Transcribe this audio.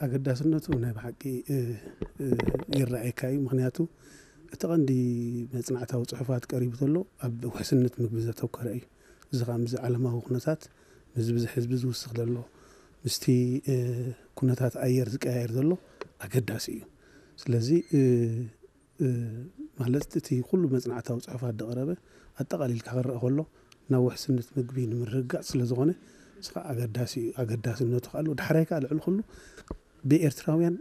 ኣገዳስነቱ ናይ ብሓቂ ይረኣየካ እዩ። ምክንያቱ እቲ ቀንዲ መፅናዕታዊ ፅሑፋት ቀሪቡ ዘሎ ኣብ ውሕስነት ምግቢ ዘተኮረ እዩ። እዚ ከዓ ምስዚ ዓለማዊ ኩነታት፣ ምስዚ ብዝሒ ህዝቢ ዝውስኽ ዘሎ፣ ምስቲ ኩነታት ኣየር ዝቀያየር ዘሎ ኣገዳሲ እዩ። ስለዚ ማለት እቲ ኩሉ መፅናዕታዊ ፅሑፋት ዝቐረበ ኣጠቓሊልካ ክረአ ከሎ ናብ ውሕስነት ምግቢ ንምርግጋፅ ስለ ዝኾነ፣ እዚ ከዓ ኣገዳሲ እዩ። ኣገዳስነቱ ከዓ ኣለዎ። ዳሕራይ ከዓ ልዕሊ ኩሉ ብኤርትራውያን